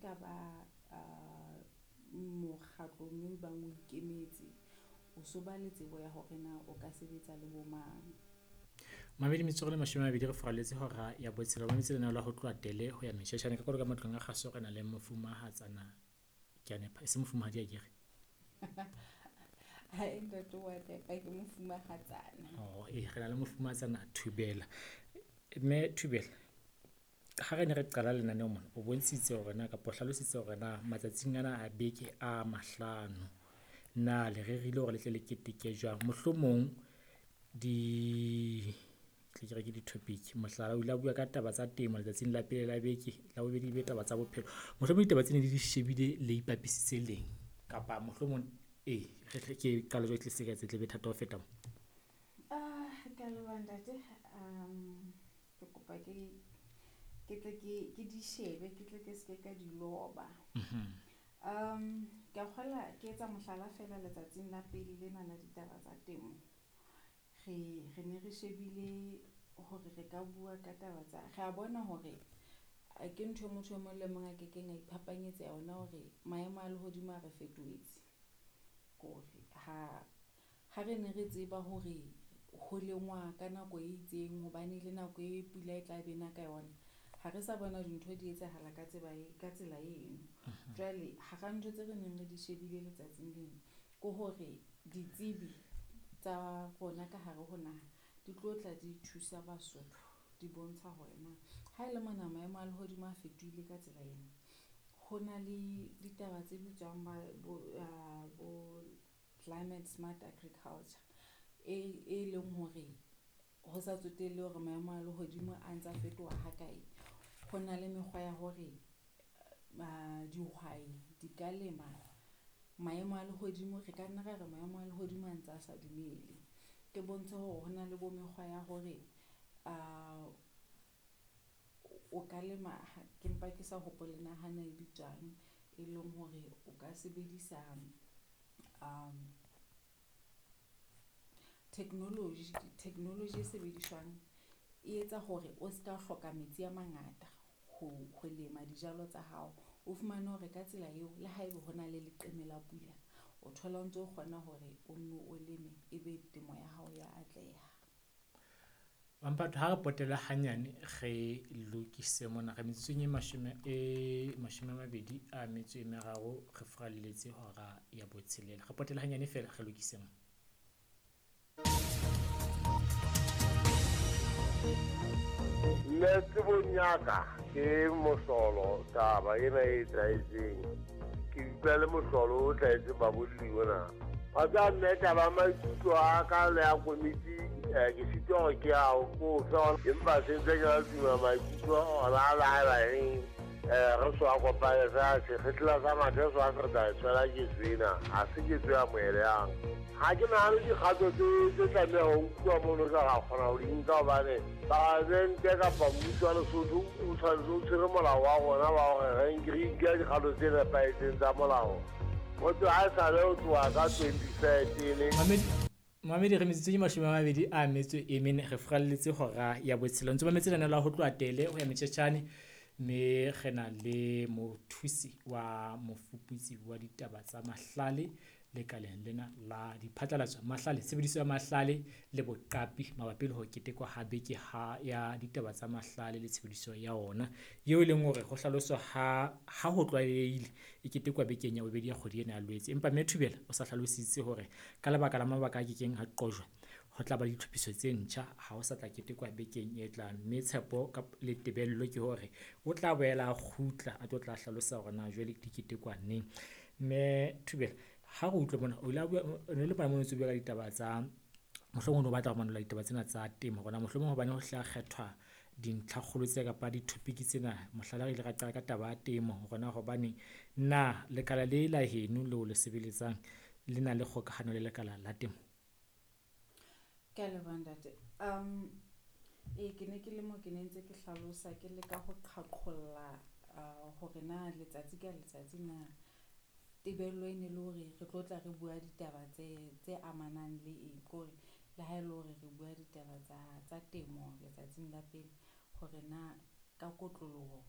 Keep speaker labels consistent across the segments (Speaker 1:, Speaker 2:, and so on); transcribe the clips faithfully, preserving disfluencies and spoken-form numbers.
Speaker 1: ka ba uh, mokgatlong e bang o ikemetse, o so ba le tsebo ya hore na o ka sebetsa le bo mang.
Speaker 2: Mamedi metsotso le mashome a mabedi re furaletse hora ya botshelo. Mametse lenaneo la ho tloha tele ho ya meshashane ka kolo ka matlong a kgaso re na le mofumahatsana ke a nepa e se mofumahadi akere.
Speaker 1: Hai ntate wa nepa, ke mofumahatsana.
Speaker 2: Oh, eh re na le mofumahatsana Thubela. Mme Thubela, ha re ne re qala lenaneo mona o bontshitse hore na kapa o hlalositse hore na matsatsing ana a beke a mahlano na le rerile hore le tle le keteke jwang. Mohlomong di tle ke re ke di-topic, mohlala o ile a bua ka taba tsa temo letsatsing la pele la beke, la bobedi ebe taba tsa bophelo. Mohlomong ditaba tsena le di shebile le ipapisitse leng kapa mohlomong ee re tle ke qale jwale tle se ka tse tle be thata ho feta mo.
Speaker 1: Ah, ke a leboha ntate. Um, ke kopa ke ke tle ke ke di shebe, ke tle ke seke ka di loba. Um, ke a kgola ke etsa mohlala fela letsatsing la pele lena la ditaba tsa temo. Re re ne re shebile hore re ka bua ka taba tsa, re a bona hore ke ntho e motho e mong le mong a kekeng a iphapanyetsa yona hore maemo a lehodimo a re fetohetse. Kore ha ha re ne re tseba hore ho lengwa ka nako e itseng hobane le nako e pula e tla be na ka yona, ha re sa bona dintho di etsahala ka tseba e, ka tsela eno. Jwale hara ntho tse re neng re di shebile letsatsing leno ke hore ditsebi tsa rona ka hare ho naha di tlo tla di thusa Basotho, di bontsha hore na ha ele mona maemo a lehodimo a fetohile ka tsela ena, ho na le ditaba tse bitswang ba bo, bo climate smart agriculture e, e leng hore ho sa tsotelle hore maemo a lehodimo a ntsa fetoha ha kae, ho na le mekgwa ya hore dihwai di ka lema maemo a lehodimo. Re ka nna ra re maemo a lehodimo a ntse a sa dumele. Ke bontshe hore ho na le bo mekgwa ya hore o ka lema, ke mpa ke sa hopole na hana e bitswang, e leng hore o ka sebedisa technology, technology e sebediswang e etsa hore o ska hloka metsi a mangata ho ho lema dijalo tsa hao. O fumane hore ka tsela eo le haeba ho na le leqeme la pula, o thola o ntso kgona hore o nno o leme ebe temo ya hao ya atleha.
Speaker 2: Mamphato ha re potela hanyane re lokise mona re metsotsong e mashome e mashome a mabedi a metso e meraro re furaletse hora ya botshelela. Re potela hanyane feela re lokise mona.
Speaker 3: Nna tsebong ya ka ke mohlolo taba ena e etsahetseng. Ke utlwa le mohlolo o hlahetseng babolli ona. Wa tseba mme taba ya maikutlo a ka le ya komiti, eh, ke sitwa hore ke a o kofe, empa se ntse ke na le tumelo maikutlo ona a laela eng, eh, re so a kopane fela sekgehla sa mathe so a se re tla e tshwela ketso ena, ha se ketso e amohelehang. Ha ke nahane dikgato tse tse tlameha ho nkuwa mono re ka kgona ho di nka hobane palamente kapa mmuso wa Lesotho o tshwanetse o tshwere molao wa rona wa hore re nke re nke dikgato tse nepahetseng tsa molao. Motho ha e sale ho tloha ka twenty thirteen.
Speaker 2: Mamedi, Mamedi re metsotso ke mashome a mabedi a metso e mene re furaletse hora ya botshelo. Ntse mametse lenaneo la ho tloha tele ho ya metjhetjhane mme re na le mothusi wa mofuputsi wa ditaba tsa mahlale lekaleng lena la diphatlalatso, mahlale, tshebediso ya mahlale le boqapi mabapi le ho ketekwa ha beke ha ya ditaba tsa mahlale le tshebediso ya ona, eo e leng hore ho hlaloswa ha, ha ho tlwaelehile e ketekwa bekeng ya bobedi ya kgwedi ena ya Loetse. Empa Mme Thubela o sa hlalositse hore ka lebaka la mabaka a kekeng a qojwa ho tla ba le ditlhophiso tse ntjha, ha ho sa tla ketekwa bekeng e tlang, mme tshepo ka le tebello ke hore o tla boela a kgutla a tlo tla hlalosa hore na jwale di ketekwa neng. Mme Thubela, ha re utlwe mona, o ile a bua, o ne le mona moo o ntso bua ka ditaba tsa, mohlomong o ne o batla ho manolla ditaba tsena tsa temo hore na mohlomong hobane ho hla kgethwa dintlhakgolo tse kapa di-topic tsena, mohlala re ile ra qala ka taba ya temo hore na hobaneng na lekala le la heno leo le sebeletsang le na le kgokahano le lekala la temo?
Speaker 1: Ke a leboha ntate. Um, ee, ke ne ke le mo ke ne ntse ke hlalosa ke leka ho qhaqholla, uh, hore na letsatsi ka letsatsi na tebello e ne le hore re tlo tla re bua ditaba tse, tse amanang le eng, ke hore le ha e le hore re bua ditaba tsa, tsa temo letsatsing la pele, hore na ka kotloloho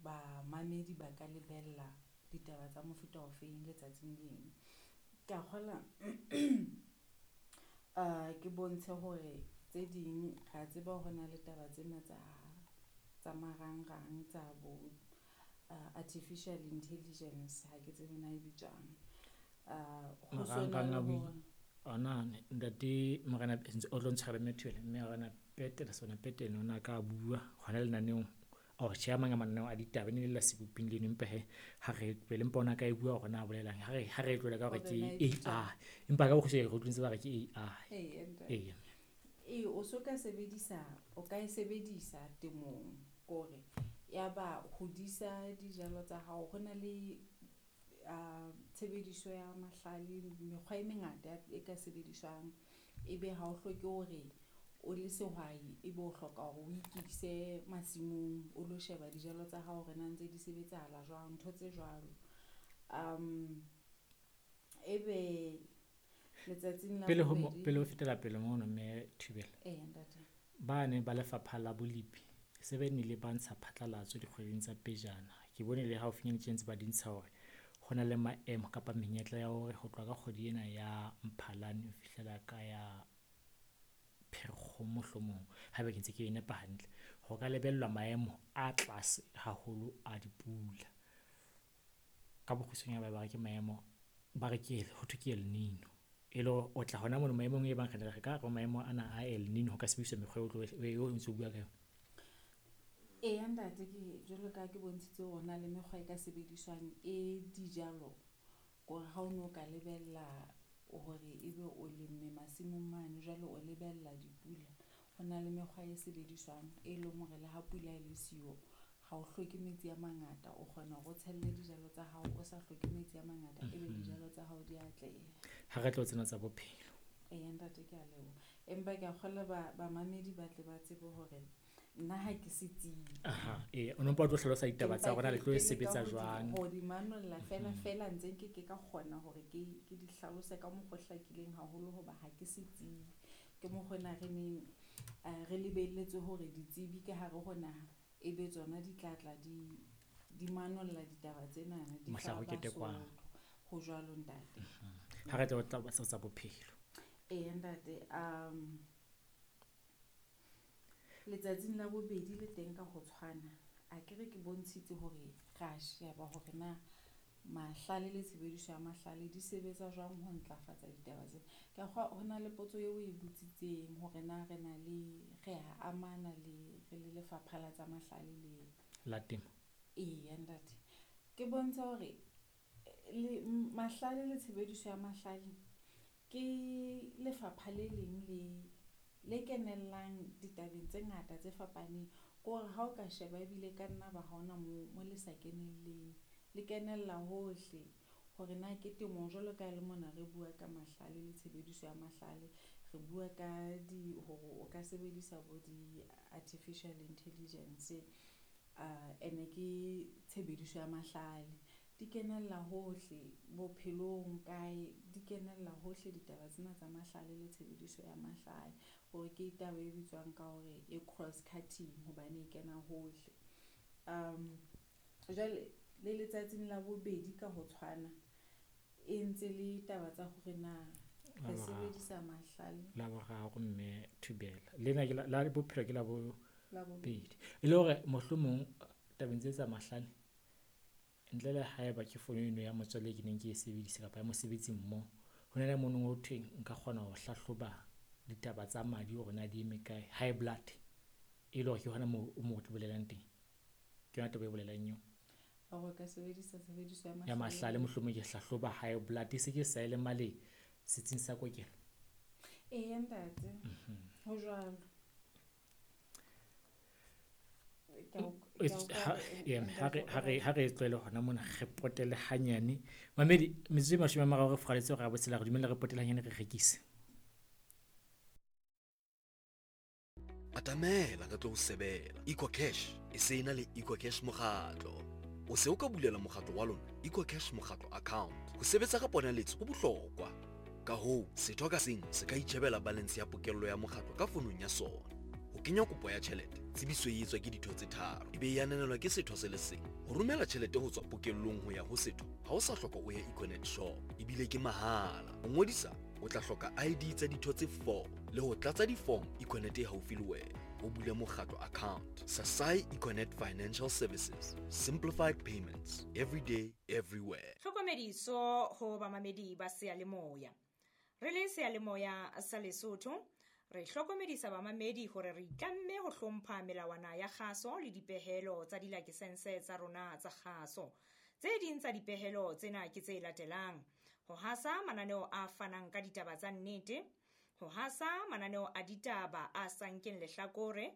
Speaker 1: bamamedi ba ka lebella ditaba tsa mofuta ofeng letsatsing leno. Ke a kgola uh ke bontshe hore tse ding ra tseba ho na le taba tsena tsa tsa marangrang tsa bo uh, artificial intelligence, ha ke tsebe na e bitswang. Uh ho sona
Speaker 2: Marangrang
Speaker 1: le
Speaker 2: a bui
Speaker 1: hore
Speaker 2: ona ntate Morena o tlo ntshwara mme Thobela, mme Morena Petele sona Petele ona ka bua hona lenaneong or tjhe a mang a mananeo a ditaba e ne le la seboping leno, empa he ha re tlohele, empa ona ka e bua hore na bolelang ha re ha re e tlohele ka hore
Speaker 1: hore
Speaker 2: ke
Speaker 1: na e bitswang.
Speaker 2: A I empa ka bokgutshwane re utlwile ba re ke A I.
Speaker 1: Eya ntate.
Speaker 2: Eya.
Speaker 1: Ee, o so ka sebedisa, o ka e sebedisa temong kore ya ba hodisa dijalo tsa hao. Ho na le uh, tshebediso ya mahlale, mekgwa e mengata e ka sebediswang. Ebe ha o hloke hore o le sehwai ebe o hloka hore o ikise masimong o lo sheba dijalo tsa hao hore na ntse di sebetsahala jwang, ntho tse jwalo. Um ebe letsatsing la
Speaker 2: Pele ho mo,
Speaker 1: bobedi,
Speaker 2: pele ho fetela pele mono mme Thobela,
Speaker 1: eya ntate.
Speaker 2: ba ne ba lefapha la bolipi se be nnile ba ntsha phatlalatso dikgweding tsa pejana. Ke bone le haufinyane tje ntse ba di ntsha hore ho na le maemo kapa menyetla ya hore ho tloha ka kgwedi ena ya Mphalane ho fihlela ka ya Pherekgong mohlomong, haeba ke ntse ke e nepa hantle, ho ka lebellwa maemo a tlase haholo a dipula. Ka bokgutshwanyane ba ba re ke maemo, ba re ke ho thwe ke El Nino. E le hore o tla hona mono maemong e bang re ne re ka re maemo ana a El Nino ho ka sebediswa mekgwa eo o tlo eo o ntso bua ka yona.
Speaker 1: Eya ntate, ke jwalo ka ha ke bontshitse hore na le mekgwa e ka sebediswang e dijalo, kore ha o no ka lebella hore ebe o lemme masimong mane jwale o lebella dipula. Ho na le mekgwa e sebediswang e leng hore le ha pula e le siyo, ha o hloke metsi a mangata, o kgona hore o tshelle dijalo tsa hao o sa hloke metsi a mangata, ebe dijalo tsa hao di atleha.
Speaker 2: Ha re tlo tsena tsa bophelo.
Speaker 1: Eya ntate, ke a leboha. Empa ke a kgolwa ba bamamedi ba tle ba tsebe hore nna ha ke setsebi.
Speaker 2: Aha, ee, o no mpa o tlo hlalosa ditaba tsa
Speaker 1: Empa
Speaker 2: rona le
Speaker 1: ke
Speaker 2: tlo
Speaker 1: ke
Speaker 2: e
Speaker 1: leka
Speaker 2: sebetsa
Speaker 1: ho di
Speaker 2: jwang.
Speaker 1: ho di manolla fela fela ntse nke ke ka kgona hore ke ke di hlalose ka mokgwa o hlakileng haholo hoba ha ke setsebi. Ke mokgwa ona re neng eh, re lebelletse hore ditsebi ka hare ho naha ebe tsona di tla tla di di manolla ditaba tsenana di
Speaker 2: Mohla
Speaker 1: fa
Speaker 2: ho ketekwang.
Speaker 1: Basotho. Ho jwalo ntate.
Speaker 2: Ha re tlo tla tsa bophelo.
Speaker 1: Eya ntate, um letsatsing la bobedi le teng ka ho tshwana, akere ke bontshitse hore ra sheba hore na mahlale le tshebediso ya mahlale di sebetsa jwang ho ntlafatsa ditaba tsena. Ke a kgolwa ho na le potso eo o e botsitseng hore na re na le re a amana le re le lefapha la tsa mahlale le
Speaker 2: La temo.
Speaker 1: Eya ntate, ke bontsha hore le mahlale le tshebediso ya mahlale ke lefapha le leng le le kenellang ditabeng tse ngata tse fapaneng. Ke hore ha o ka sheba ebile ka nna ba ha hona moo mo le sa kenelleng, le kenella hohle hore na ke temong jwalo ka ha le mona re bua ka mahlale le tshebediso ya mahlale, re bua ka di hore o ka sebedisa bo di-artificial intelligence, uh ene ke tshebediso ya mahlale. Di kenella hohle bophelong kae, di kenella hohle ditaba tsena tsa mahlale le tshebediso ya mahlale. Hore ke taba e bitswang ka hore e cross cutting hobane e kena hohle. Um jwale le letsatsing la bobedi ka ho tshwana e ntse le taba tsa hore na
Speaker 2: La
Speaker 1: re
Speaker 2: boraro.
Speaker 1: sebedisa mahlale.
Speaker 2: La boraro mme Thobela. Lena ke la la bophelo ke la bo
Speaker 1: La bobedi.
Speaker 2: bobedi. E le hore mohlomong tabeng tse tsa mahlale ntle le haeba ke fono eno ya motswalle e ke neng ke e sebedisa kapa ya mosebetsi mmoho, ho na le mono ho thweng nka kgona ho hlahloba ditaba tsa madi hore na di eme kae, high blood, e le hore ke hona moo o mo tlo bolelang teng. Ke yona taba e bolelang eo.
Speaker 1: Hore o ka sebedisa tshebediso ya
Speaker 2: Ya mahlale mohlomong ke hlahloba high blood e se ke sa e le male setsing sa kokelo.
Speaker 1: Eya ntate, ho jwalo. Ke a o- ke a utlwa
Speaker 2: Ha
Speaker 1: hore,
Speaker 2: ee, ha re
Speaker 1: ntate
Speaker 2: ha
Speaker 1: o
Speaker 2: re ha re tlohele hona mona re potele hanyane. Mamedi metsotso e mashome a mararo re furaletse hora ya botshelela, re dumelle re potele hanyane re rekise.
Speaker 4: Atamela re tlo o sebela. EcoCash e se e na le EcoCash mokgatlo. O se o ka bulela mokgatlo wa lona EcoCash mokgatlo account. Ho sebetsa ka ponaletso ho bohlokwa. Ka hoo, setho ka seng se ka itjhebela balance ya pokello ya mokgatlo ka fonong ya sona. Ho kenya kopo ya tjhelete, tsebiso e etswa ke ditho tse tharo, ebe e ananelwa ke setho se le seng. Ho romela tjhelete ho tswa pokellong ho ya ho setho ha o sa hloka o ye Econet shop, ebile ke mahala. Ho ngodisa o tla hloka I D tsa ditho tse four le ho tlatsa di-form Econet e haufi le wena. O bule mokgatlo account. Sasai Econet Financial Services. Simplified payments. Every day, everywhere.
Speaker 5: Tlhokomediso ho bamamedi ba seyalemoya. Re le seyalemoya sa Lesotho, re hlokomedisa bamamedi hore re itlamme ho hlompha melawana ya kgaso le dipehelo tsa dilakesense tsa rona tsa kgaso. Tse ding tsa dipehelo tsena ke tse latelang: ho hasa mananeo a fanang ka ditaba tsa nnete, ho hasa mananeo a ditaba a sa nkeng lehlakore,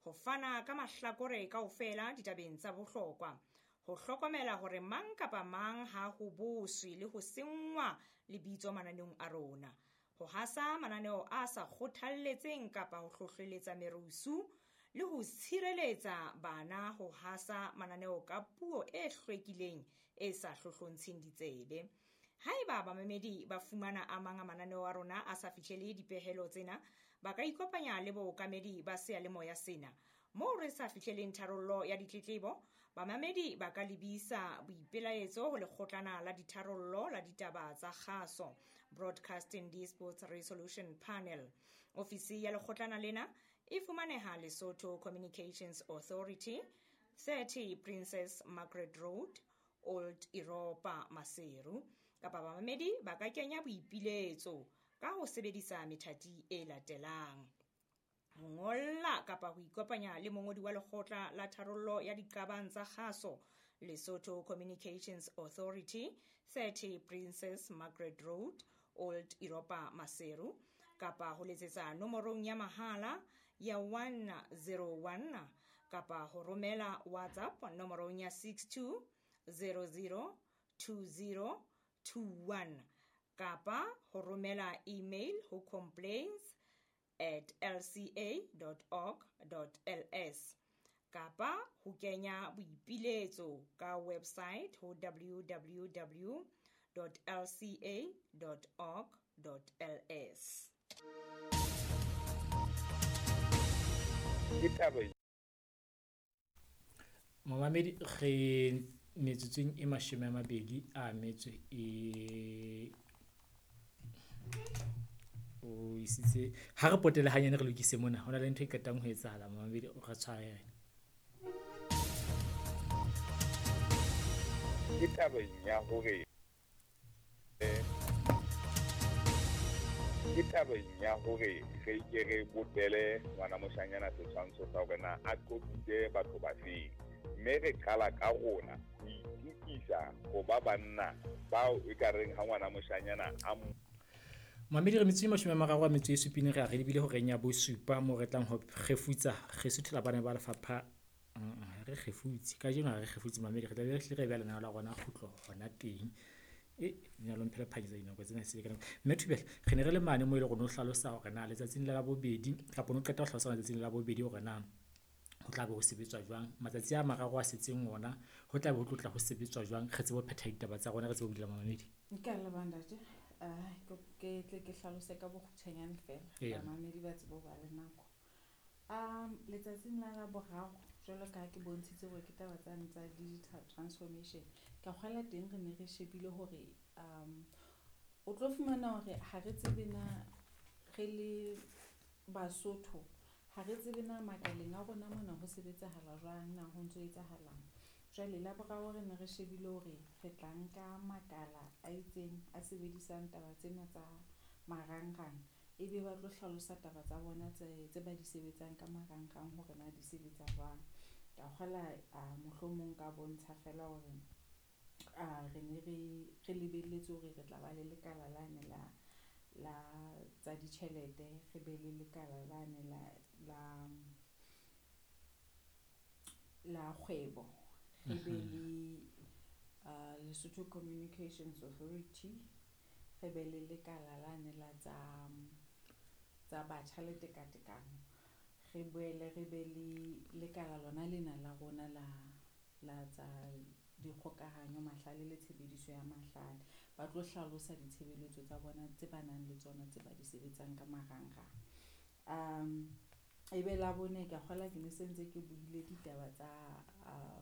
Speaker 5: ho fana ka mahlakore kaofela ditabeng tsa bohlokwa, ho hlokomela hore mang kapa mang ha ho boswe le ho senngwa lebitso mananeong a rona, ho hasa mananeo a sa kgothalletseng kapa ho hlohleletsa merusu, le ho tshireletsa bana ho hasa mananeo ka puo e hlwekileng e sa hlohlontsheng ditsebe. Haeba bamamedi ba fumana a mang a mananeo a rona a sa fihlele dipehelo tsena, ba ka ikopanya le bookamedi ba seyalemoya sena. Moo re sa fihleleng tharollo ya ditletlebo, bamamedi ba ka lebisa boipelaetso ho lekgotlana la ditharollo la ditaba tsa kgaso, Broadcasting Disputes Resolution Panel. Ofisi ya lekgotlana lena e fumaneha Lesotho Communications Authority, thirty Princess Margaret Road, Old Europa, Maseru. Kapa bamamedi ba ka kenya boipiletso ka ho sebedisa methati e latelang: ho ngolla kapa ho ikopanya le mongodi wa lekgotla la tharollo ya diqabang tsa kgaso, Lesotho Communications Authority, thirty Princess Margaret Road, Old Europa, Maseru, kapa ho letsetsa nomorong ya mahala ya one zero one kapa ho romela WhatsApp nomorong ya six two zero zero two zero two one kapa ho romela email ho complaints at l c a dot org dot l s kapa ho kenya boipiletso ka website ho w w w dot l c a dot org dot l s.
Speaker 2: Momamedi, re metsotsong e mashome a mabedi a metso e o isitse ha re potele hanyane re lokise mona, ho na le ntho e qetang ho etsahala. Momamedi o re tshwarele.
Speaker 6: Ke tabeng ya hore ke tabeng ya hore re ke re botele ngwana moshanyana setshwantsho sa hore na a qobitse batho ba feng, mme re qala ka rona ho itukisa ho ba banna bao e ka reng ha ngwana moshanyana a
Speaker 2: Mamedi, re metsotso e mashome a mararo a metso e supileng re a re lebile horeng ya bosupa moo re tlang ho kgefutsa re suthela bana ba lefapha. Re kgefutse kajeno, ha re kgefutse mamedi, re tla be re hlile re beha lenaneo la rona kgutlo hona teng. E lenyalo mphele phanyetsa dinako tsena se ka nako. Mme Thubela, re ne re le mane moo e le rona o hlalosa hore na letsatsing la bobedi kapa o qeta ho hlalosa letsatsing la bobedi hore na ho tla be ho sebetswa jwang matsatsi a mararo a setseng ona, ho tla be ho tlotla ho sebetswa jwang, re tsebe ho phetha ditaba tsa rona, re tsebe ho bulela mamedi.
Speaker 1: Nka leboha ntate. Uh, ke tle ke hlalose ka bokgutshwanyane fela, bamamedi ba tsebe ho ba le nako. Um letsatsing la la boraro, jwalo ka ha ke bontshitse hore ke taba tsane tsa digital transformation, ka kgwela teng re ne re shebile hore um o tlo fumana hore ha re tsebe na re le Basotho, ha re tsebe na makaleng a rona mona ho sebetsahala jwang, na ho ntso etsahalang. Jwale la boraro re ne re shebile hore re tla nka makala a itseng a sebedisang taba tsena tsa marangrang, ebe ba tlo hlalosa taba tsa bona tse tse ba di sebetsang ka marangrang hore na di sebetsa jwang. Ka kgola mohlomong ka bontsha fela hore re ne re re lebelletse hore re tla ba le lekala lane la la tsa ditjhelete, re be le lekala lane la la la kgwebo, re be le uh, Lesotho Communications Authority, re be le lekala lane la tsa tsa batjha le tekatekano, re boele re be le lekala lona lena la rona la la tsa dikgokahanyo, mahlale le tshebediso ya mahlale. Ba tlo hlalosa ditshebeletso tsa bona tse ba nang le tsona tse ba di sebetsang ka marangrang. Um ebe la bone ka kgola ke ne se ntse ke buile ditaba tsa uh,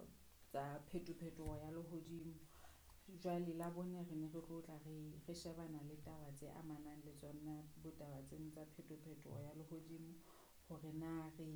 Speaker 1: tsa phetophetoho ya lehodimo. Jwale la bone re ne re tlo tla re re shebana le taba tse amanang le tsona botaba tseno tsa phetophetoho ya lehodimo hore na re